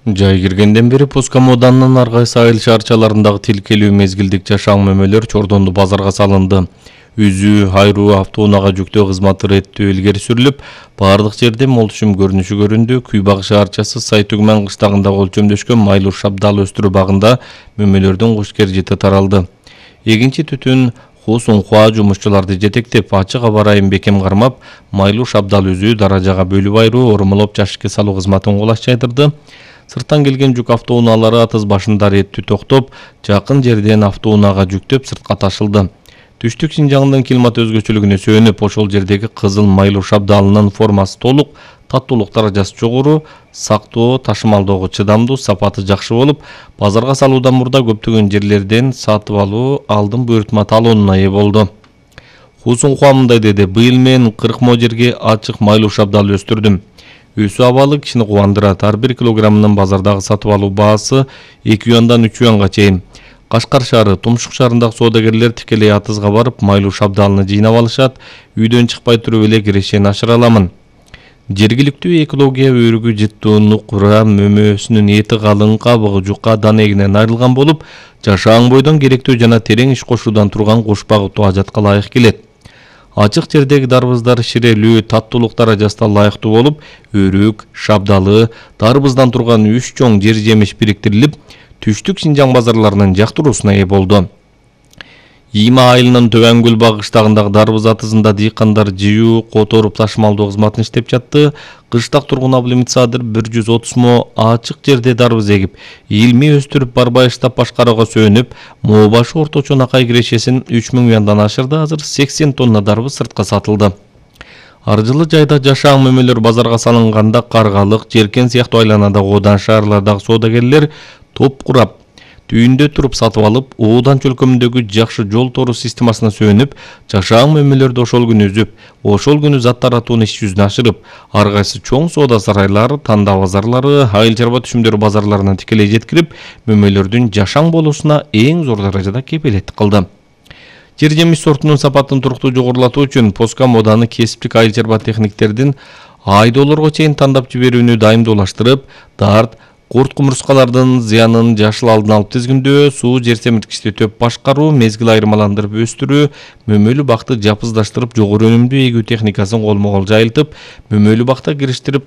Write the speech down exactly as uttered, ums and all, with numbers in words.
Жай киргенден бери Пуска Моданынын ар кайсы айыл шаарчаларындагы тилкелүү мезгилдик жашаң мөмөлөр чордонду базарга салынды. Үзүү, айруу, автоунаага жүктөө кызматы реттөө илгери сүрүлүп, бардык жерде мол түшүм көрүнүшү көрүндү. Күйбаг шаарчасы Сайтүгмөн кыштагындагы өлчөмдөшкөн майлуу шабдал өстүрүү багында мөмөлөрдүн кушкер жыты таралды. Эгинчи түтүн Хусунхуа жумушчуларды жетектеп, ачык аба ырайын бекем кармап, майлуу шабдал үзүү даражага бөлүп айруу, ормолоп жашыкка салуу кызматын колашчайдырды. Сырттан келген жүк автоунаалары атыз башында реттүү токтоп, жакын жерден автоунаага жүктөп сыртка ташылды. Түштүк Шинжаңдын климат өзгөчөлүгүнө сүйөнүп, ошол жердеги кызыл майлуу шабдалынын формасы толук, таттуулук даражасы жогору, сактоо, ташымалдоого чыдамдуу, сапаты жакшы болуп, базарга салуудан мурда көптөгөн жерлерден сатып алуу алдын буйртма талонуна ээ болду. Хусунхуа мындай деди: быйыл мен кырк мо жерге ачык майлуу шабдал өстүрдүм. Өсүү абалы кишини кубандырат. Ар бир килограммынын базардагы сатып алуу баасы эки юандан үч юанга чейин. Кашкар шаары, Тумшук шаарындагы соодагерлер тикелей атызга барып, майлуу шабдалыны жыйнап алышат. Үйдөн чыкпай туруп эле кирешени ашыра аламын. Жергиликтүү экология өрүгү жыттуу нукура мөмөсүнүн эти калың, кабыгы жука, дан эгинен айрылган болуп, жашаң бойдон керектүү жана терең иш кошуудан турган куш багытуу ажатка ылайык келет. Ачык жердеги дарбыздар ширелүү, таттуулук даражасына ылайыктуу болуп, өрүк, шабдалы, дарбыздан турган үч чоң жер жемиш бириктирилип, Түштүк Шинжаң базарларынын жактыруусуна ээ болду. Ийма айылынын Төбөн көл багы кыштагындагы дарбыз атызында дыйкандар жыюу, которуп ташымалдоо кызматын иштеп жатты. Кыштак тургун Абылмитсадыр бир жүз отуз мо ачык жерде дарбыз эгип, илмий өстүрүп барбай штаб башкарууга сөөнүп, моо башы орточо накай кирешесин үч миң юандан ашырды. Азыр сексен тонна дарбыз сыртка сатылды. Ар жылы жайда жашаң мөмөлөр базарга салынганда Каргалык, Жеркен сыяктуу айланадагы Оодан шаарлардагы соодагерлер топ курап, түйүндө туруп сатып алып, Оодан чөлкөмүндөгү жакшы жол тору системасына сөөнүп, жашаң мөмөлөрдү ошол күнү үзүп, ошол күнү зат таратуунун иш жүзүнө ашырып, ар кайсы чоң соода сарайлар, тандаа базарлары, айыл чарба түшүмдөр базарларына тикелей жеткирип, мөмөлөрдүн жашаң болуусуна эң зор даражада кепилеттик кылды. Жер жемиш сортунун сапатын туруктуу жогорулатуу үчүн Пуска Моданы кесиптик айыл чарба техниктердин айдоолорго чейин тандап жиберүүнү дайымдуулаштырып, дарт, курт кумурскалардын зыянын жашыл алдын алып тизгиндөө, суу жер семирткичти төп башкаруу, мезгил айырмаландырып өстүрүү, мөмөлүү бакты жапыздаштырып, жогору өнүмдүү эгүү техникасын колмо-кол жайылтып, мөмөлүү бакта кириштирип